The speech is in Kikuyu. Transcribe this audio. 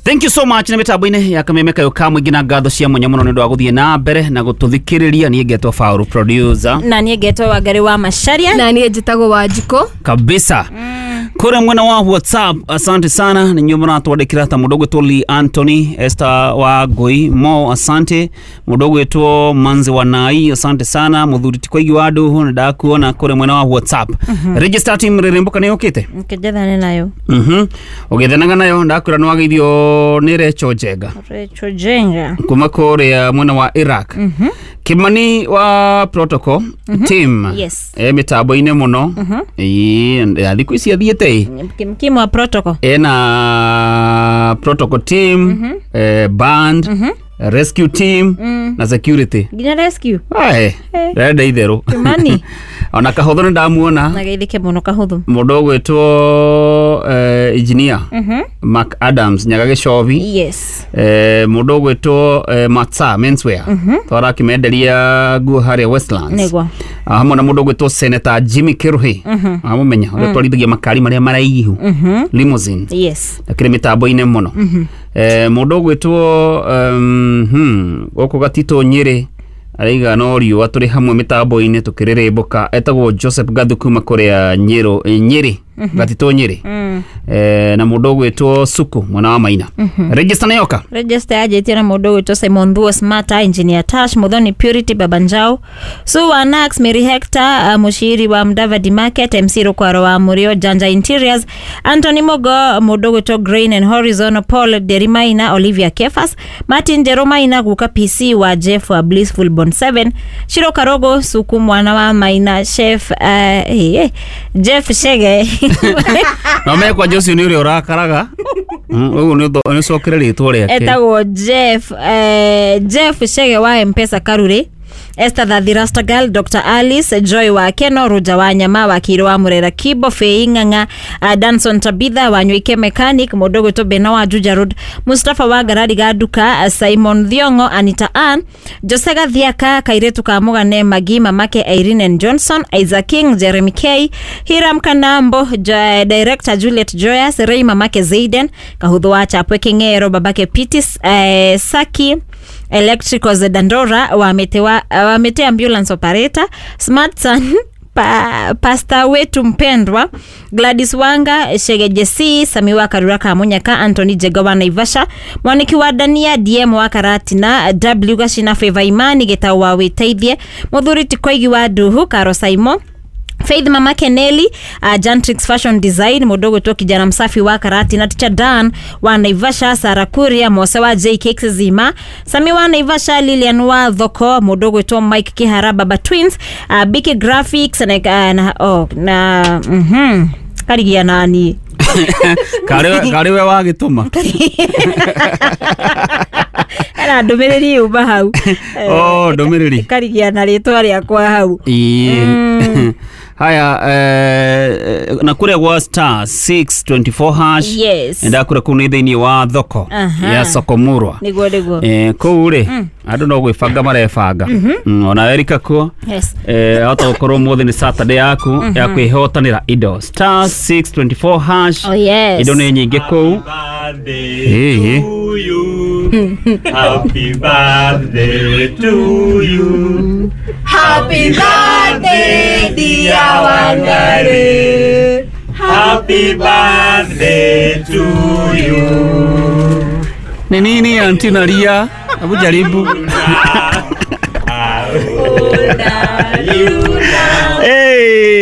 Thank you so much. Nĩ mĩtambo-inĩ ya kameme kayo ka mũingĩ na ngatho cia mwanya mũno nĩ ũndũ wa gũthiĩ na mbere na gũtũthikĩrĩria. Niĩ ngetwo Faulu producer. Na niĩ ngetwo Wangari wa Macharia. Na niĩ njĩtagwo Wanjikũ. Kabisa. Kũrĩa mwena wa WhatsApp, asante sana nĩ inyuĩ mũratwandĩkĩra, ta mũndũ ũgwĩtwo Lee Anthony, Esther wa Ngũi Mo, asante. Mũndũ ũgwĩtwo Manzi wa Nai, asante sana. Mũthuri ti Koigi wa Nduhu, nĩ ndakuona kũrĩa mwena wa WhatsApp. Register team rĩrĩmbũka nĩ yũkĩte. Nkĩnjethane nayo. Ũgĩthanaga nayo, ndakwĩra nĩ wageithio nĩ Recho Njenga. Recho Jenga. Kuma kũrĩa mwena wa Iraq. Kimani wa protocol team. Yes. E mĩtambo-inĩ mũno. Ĩĩ, ya thikũ ici athiĩte ĩ. Kimkimu wa protocol. Ena protocol team, band, rescue team na security. Nginya rescue. Ae, ndĩrenda itherũ. Kimani. Ona kahũthũ nĩ ndamuona. Na geithĩke mũno kahũthũ. Mũndũ ũgwĩtwo engineer Mark Adams Nyaga Gĩcobi. Yes. Mũndũ ũgwĩtwo Matsa menswear, twarakĩmenderia nguo harĩa Westlands. Nĩguo. Hamwe na mũndũ ũgwĩtwo Senator Jimmy Kiruhi, amũmenya ũrĩa twarithagia makari marĩa maraihu, limousine. Yes. Akĩrĩ mĩtambo-inĩ mũno. Mũndũ ũgwĩtwo gũkũ Gatitũ Nyĩrĩ araiga no riũa tũrĩ hamwe mĩtambo-inĩ tũkĩrĩrĩmbũka, etagwo Joseph Gathu kuma kũrĩa Nyĩrũ, Nyĩrĩ, Gatitũ Nyĩrĩ. Na mũndũ ũgwĩtwo Suku mwena wa Maina. Register nĩ yoka. Register yanjĩtie na mũndũ ũgwĩtwo Simon Thuo, Smarter Engineer Tash Muthoni, Purity Babanjao, Sue wa Nax, Mary Hector, Mushiri wa Mudavadi Market, MC Rukwaro wa Murio, Janja Interiors, Anthony Mogo, mũndũ ũgwĩtwo Grain and Horizon, Paul Derimaina, Olivia Kefas, Martin Jeromaina, Guka PC wa Jeff wa Blissful Bond 7, Shiro Karogo, Suku mwana wa Maina, Chef Jeff Shege. Na mekwa Jose nĩ ũrĩa ũrakaraga. Ũguo nĩ ũcokere rĩtwa rĩake. Etagwo Jeff, Jeff Shege wa Mpesa Karure, Esther Thathi Rastagal, Dr. Alice Joy wa Keno, Ruja wa Nyama wa Kiro wa Murera Kibo, Fei Ng'ang'a, Danson Tabitha wa Nywike Mechanic, mũndũ ũgwĩtwo Bena wa Juja Road, Mustafa wa Garari Gaduka, Simon Thiongo, Anita Ann, Jose Gathiaka, Kairetu ka Mugane Magi, Mamake Irene and Johnson, Isaac King, Jeremy K, Hiram Kanambo, Director Juliet Joyas, Ray Mamake Zaiden, Kahuthu wa Chapwe King'ero, Babake Pitis, Saki Electricals Dandora wa Mete ambulance operator, Smart Son, pasta wetu mpendwa, Gladys Wanga, Shege Jesse, Sami wa Karura Kamunyaka, Anthony Jega wa Naivasha, Mwaniki wa Dania, DM wa Karatina, W Gashina, Favor Imani, Geta wa Witeithie, Muthuri Tikoigi wa Duhu, Karo Saimo, Faith Mama Keneli, Jantrix Fashion Design, mudogo tu kijana msafi wa Karati na Teacher Dan wa Naivasha, Sara Kuria, Mose wa J Cakes Zima, Sami wa Naivasha, Lilian wa Thoko, mudogo tu Mike Kihara, Baba Twins, BK Graphics na karigia nani Karĩ we wagĩtũma. Era ndũmĩrĩri yuma hau. Oh, ndũmĩrĩri. Karigia na rĩtwa rĩakwa hau. Ĩĩ. Haya, na kũrĩa gwa star 624 hash. Yes. Ndakũrĩa kũu nĩ thĩinĩ wa thoko ya Sokomurwa. Nĩguo nĩguo. Kũu rĩ andũ no gwĩbanga marebanga. Ona Erika kuo. Yes. Hota gũkorwo ũmũthĩ nĩ Saturday yaku ya kwĩhotanĩra indo. Star 624 hash. Oh, yes. Indo nĩ nyingĩ kũu. Birthday to you. Happy birthday to you. Happy birthday dear Wangari. Happy birthday to you. Ni nini anti Naria? Hebu jaribu. How old are you now? Hey.